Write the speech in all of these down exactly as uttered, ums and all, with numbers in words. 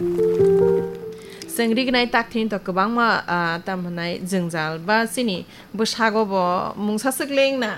Chwng rignai takthini to kwbangma, ah, tamo hwnai jwngjal ba chini bwsago bo mungsa swk leng na.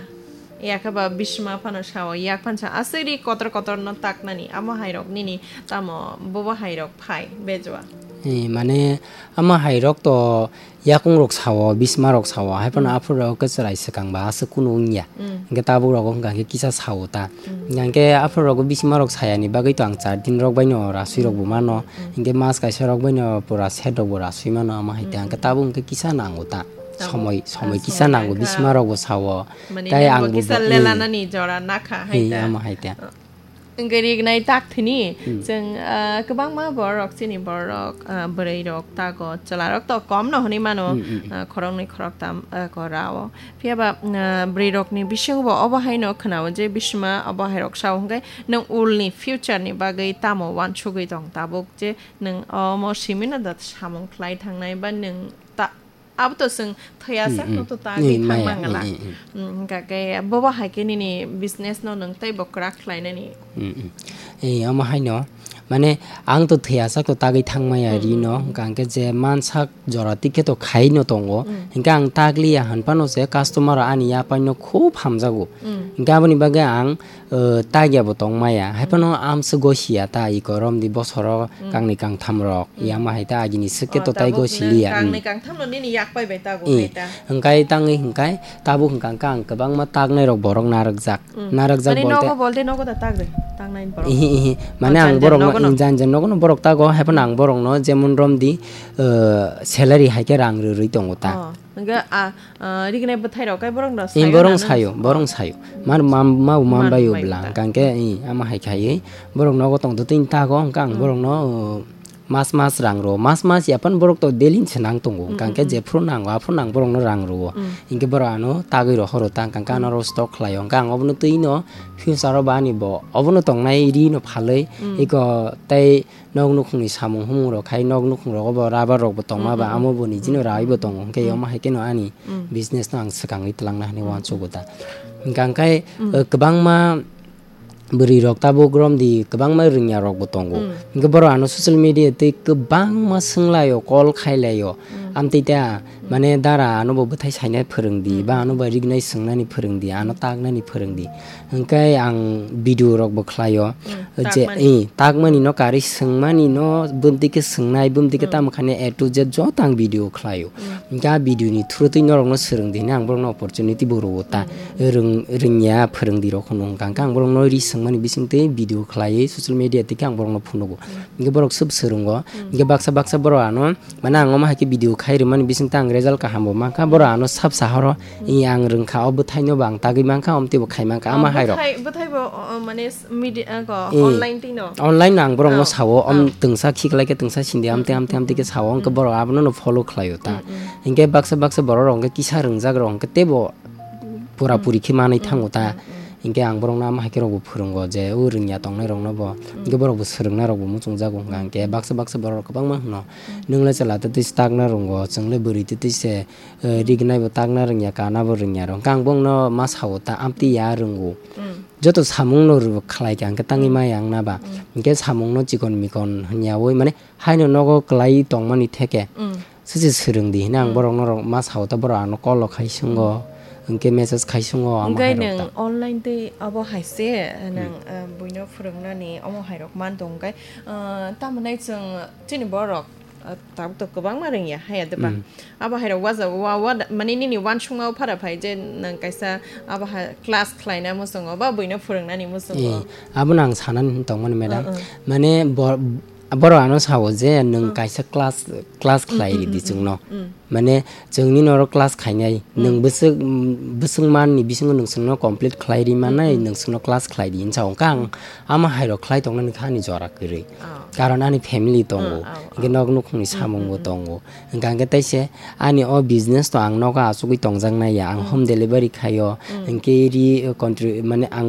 Yakhe ba bisma phano sao, yak phano sao, aswk ri kotor kotor no taknani, amo hai rok nini tamo bobo hai rok phai bejua. Eh, mane, ama hai rok to yakung rok sao, bisma rok sao, hai phano Mm. aphuru rok khe chwrai swkang ba aswk kunu wngya. Mm. Hwnkhe tabuk rogo hwnkha khe kisa sao ta. Mm. Hwnkha khe aphuru rogo bisma rok sayani bagwi to ang char din rok bai no rasui rok bo mano. Mm. Hwnkhe mas kaisa rok bai no pura set rok bo rasui mano ama hai ta. Mm. Hwnkhe tabuk hwnkhe kisa nango ta. Tabuk, Somoi, somoi ah, kisa somoi nango, nangkha. Bisma rok bo sao. Mane Tai nangbo ang bo kisa bo, mm. lelanani jora nakha hai Eh, ta. Ama hai ta. Wngwi rignai tak thini, Hmm. chwng, ah, kwbangma borok, chini borok, ah, bwrwi rok tago, chwla rok to kom no hwnwi mano, Hmm, hmm, hmm. ah, khoroknwi khoroktam, ah, ko rao. Phiya ba, ah, bwrwi rokni bisingo bo obo hai no khwnao je bisma obo hai rok sao hwnkhe nwng ulni future ni bagwi tamo uansugwi tong tabuk je nwng omo simi no da samung khlai thangnai ba nwng ta Abo to chwng thwiya Hmm, sak hmm. no to ta Hmm, gwi thang maya, mangala. Hmm, hmm, hmm. Hmm, hwnkha khe bobo hai khe nini business no nwng teibo kwrak khlainani. Hmm, hmm. Eh, omo haino, mane, ang to thwiya sak to tagwi thang maya Hmm, ri hmm, no, hmm. Hwnkha hwnkhe je mansak jora tikhe to khai no tongo. Hmm. Hwnkhe ang tagliya hwn phano se customer ani yapai no khub hamjago. Hmm. Hwnkhe aboni bagwi ang, eh, tagya bo tong maya. Hai phano Hmm. amswk gosia ta iko romdi bosoro Hmm. kangni kangtham rok. Hmm. Yama hai ta agini swk khe Oh, to tai tabuk gosi nung liya. Hmm. Kangni kangtham no nini yak pai bai tago Hmm. hai ta. Hwnkhe tangwi hwnkhe tabuk hwnkha hwnkhe ang kwbangma taknai rok borok narwkjak. Hmm. Narwkjak Mane bolte nogo bolte nogo da tagri, taknai borok. Ihi, ihi. Mane Oh, ang jan jan borok no, nogo no. Jan jan nogo no borok tago, hai phano Hmm. ang borok no jemon romdi, eh, salary hai khe rang rwrwi tongo ta. Oh. Hwnkhe, ah, ah, rignai bwthai rok khe borok no Ee, sayo borok na nung? Sayo, borok sayo. Mar mam-, mau Man mambayo bai bwla, ta. Hwnkha hwnkhe, ee, ama hai khai, borok nogo tong do tini tago, hwnkha ang Hmm. borok no, uh, mas mas rang rwo, mas mas ya phano borok to daily se nang tongo, Hmm, hwnkha hwnkhe hmm, jephru nango, aphru nang borok no rang rwo. Hmm. Hwnkhe borok ano tagwi rw horo ta, hwnkha hwnkhe ano Hmm. ro stock khlai o, hwnkha ang obono twi no future o bo ani bo, obono tongnai ri no phalwi, Hmm. eko tei Nok nukhungni samung humung rok khai, nok nukhung rogo bo rubber rok bo tongma ba, Mm, mm, amo bo nijino mm, rai bo mm, tongo, hwnkhe mm. Omo hai kheno ani Mm. business no ang swkangwi twlangna hinwi Mm, uansugo mm. Da. Hwnkha hwnkhe, Mm. eh, kwbangma bwrwi rok tabuk romdi kwbangma rwngya rok bo tongo. Mm. Hwnkhe borok ano social media tei kwbangma swnglaio, call khailaio. Mm. Amtwi ta, Mm. mane dara ano bo bwthai sainai phwrwngdi, Mm, ba mm, ano mm. Bo rignai swngnani phwrwngdi, ano taknani phwrwngdi. Hwnkhe ang video rok bo khlaio. Mm, je, takmani. Eh, takmani no karwi swngmani no bumtwi khe swngnai, bumtwi khe Mm. Tamo khainai A to Z joto ang video khlaio. Mm. Hwnkhe a video ni through twi norok no swrwngdi hinwi ang borok no opportunity bo rwo ta. Mm, mm, mm. Rwng-, rwngya phwrwngdi rok hwnwi hwnkha hwnkhe ang borok no ri swngmani bisingtwi video khlaiwi social media twi khe ang borok no phunugo. Mm. Hwnkhe borok swb swrwngo. Mm. Hwnkhe baksa baksa borok ano Mane ang omo hai khe video khai rwmani bisingtwi ang result kaham bo mankha, borok ano sab sahoro, Mm. "Ee, ang rwngkha, o bwthaino bo ang tagwi mankha, omtwi bo khai mankha," ama Ah, hai rok. Bwthai, bwthai bo, o, o, mane s-, midi-, ah, ko, Ee, online twi no? Online no ang borok no Ah. Sao, om Ah. Twngsa khiklai khe twngsa sindi, amtwi, Mm, amtwi, mm, amtwi khe mm, sao, hwnkhe mm. Borok abono no follow khlaio ta. Mm, mm. Hwnkhe baksa, baksa borok rok hwnkhe kisa rwngjak rok hwnkhe teibo pura Mm. Puri khe manwi Mm, thango ta. Mm, mm. Hwnkhe ang borokno ama hai khe rokbo phwrwngo je o rwngya tongnai rokno bo. Mm. Hwnkhe borokbo swrwngna rokbo muchungjago hwnkha Mm. Hwnkhe baksa baksa borok kwbangma hwno. Mm. Nwng le chwla twtwi se takna rwngo, chwng le bwrwi twtwi se, eh, Mm. Rignai bo takna rwngya, kana bo rwngya rw. Hwnkhe ang bongno ma sao ta amtwi ya rwngo. Mm. Joto samungno rw khlai kha hwnkhe tangwi Mm. Maya wngna ba. Mm. Hwnkhe samungno chikon mikon hwnyaui mane haino nogo kwlai tongmani theke. Mm. Sese swrwngdi hinwi ang Mm. Borok norok ma sao ta borok ano call rok khai swngo, Mm. Hwnkhe message khai swngo, amo Hwnkhe hai rok nwng ta. Online tei abo hai se, nwng, Mm. Ah, buino phwrwngnani omo hai rok man tong khe, ah, tamo nai chwng chini borok, ah, tabuk to kwbangma rwngya, haya de ba? Mm. Abo hai rok waja wa, wa, mane nini uansukma phara phai je nwng kaisa abo hai class khlaina muchungo ba buino phwrwngnani muchungo? Eh, abono ang sanani tongmani, madam. Uh, uh. Mane bo-, Borok ano sao je nwng Mm. Kaisa class, class Mm, khlai mm, ridi mm, chwngno. Mm. Mane chwngni norok class khainai, Mm. Nwng bwswk, mm, bwswk manni bisingo nwng chwngno complete khlai ri Mm, manai, mm. Nwng chwngno class khlai di hinwi sao. Hwnkhe ang Mm. Ama hai rok khlai tongnani kha ani jora kwrwi. Oh. Karon ani family tongo. Oh, oh, Hwnkhe oh. Nok nukhungni Mm, samung mm, bo mm. Tongo. Hwnkha hwnkhe taise ani o business to ang nogo achugwi tongjaknai ya. Ang Mm. Home delivery khaio. Mm. Hwnkhe ri, eh, country, mane ang